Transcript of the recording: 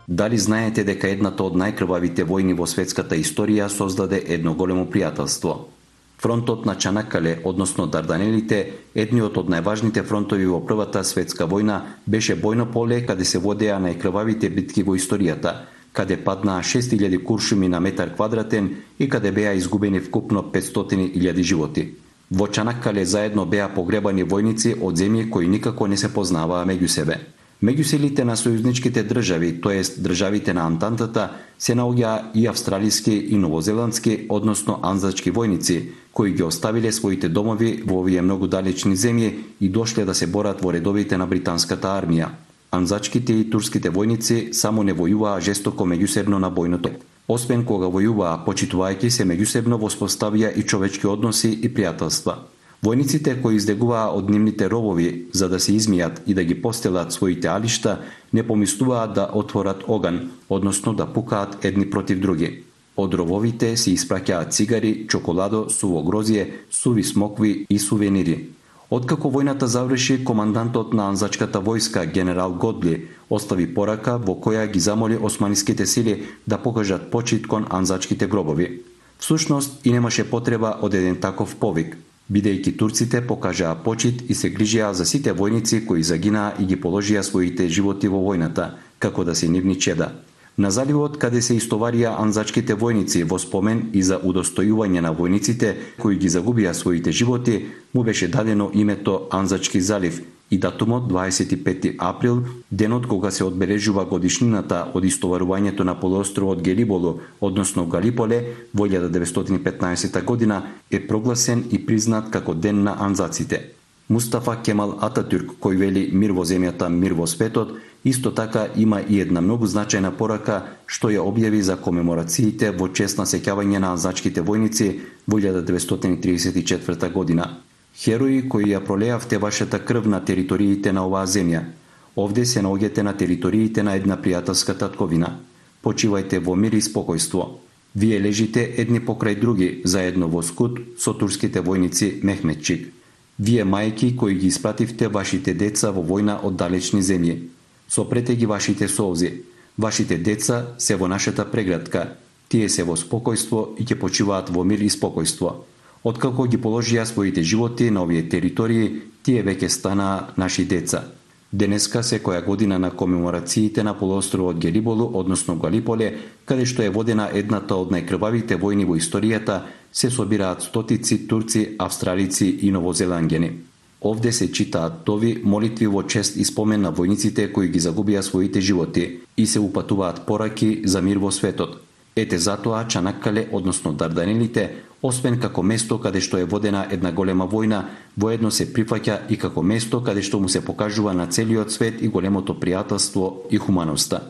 Дали знаете дека едната од најкрвавите војни во светската историја создаде едно големо пријателство? Фронтот на Чанаккале, односно Дарданелите, едниот од најважните фронтови во Првата светска војна, беше бојно поле каде се водеа најкрвавите битки во историјата, каде паднаа 6000 куршуми на метар квадратен и каде беа изгубени вкупно 500.000 животи. Во Чанаккале заедно беа погребани војници од земји кои никако не се познаваа меѓу себе. Меѓу силите на сојузничките држави, тоест државите на Антантата, се наоѓаа и австралиски и новозеландски, односно анзачки војници, кои ги оставиле своите домови во овие многу далечни земји и дошле да се борат во редовите на британската армија. Анзачките и турските војници само не војуваа жестоко меѓусебно на бојното. Освен кога војуваа, почитувајќи се меѓусебно, воспоставија и човечки односи и пријателства. Војниците кои издегуваа од нивните робови за да се измијат и да ги постелат своите алишта, не помислуваат да отворат оган, односно да пукаат едни против други. Од рововите се испраќаат цигари, чоколадо, суво грозје, суви смокви и сувенири. Откако војната заврши, командантот на анзачката војска, генерал Годли, остави порака во која ги замоли османиските сили да покажат почит кон анзачките гробови. Всушност и немаше потреба од еден таков повик, бидејќи турците покажаа почит и се грижеа за сите војници кои загинаа и ги положија своите животи во војната, како да се нивни чеда. На заливот, каде се истоварија анзачките војници во спомен и за удостојување на војниците кои ги загубија своите животи, му беше дадено името Анзачки залив и датумот 25 април, денот кога се одбележува годишнината од истоварувањето на полуостровот Гелиболу, односно Галиполе, во 1915 година, е прогласен и признат како Ден на анзаците. Мустафа Кемал Ататюрк, кој вели мир во земјата, мир во светот, исто така има и една многу значајна порака што ја објави за комеморациите во чест на сеќавање на анзачките војници во 1934 година. Херои кои ја пролеавте вашата крв на териториите на оваа земја, овде се наоѓате на териториите на една пријателска татковина. Почивајте во мир и спокојство. Вие лежите едни покрај други, заедно во скут со турските војници Мехмедчик. Вие мајки кои ги испративте вашите деца во војна од далечни земји. Сопрете ги вашите солзи. Вашите деца се во нашата преградка. Тие се во спокојство и ќе почиваат во мир и спокојство. Откако ги положија своите животи на овие територии, тие веќе станаа наши деца. Денеска, секоја година на комеморациите на полуостровот Гелиболу, односно Галиполе, каде што е водена едната од најкрвавите војни во историјата, се собираат стотици турци, австралици и новозеланѓани. Овде се читаат тови молитви во чест и спомен на војниците кои ги загубија своите животи и се упатуваат пораки за мир во светот. Ете затоа Чанаккале, односно Дарданелите, освен како место каде што е водена една голема војна, воедно се прифаќа и како место каде што му се покажува на целиот свет и големото пријателство и хуманоста.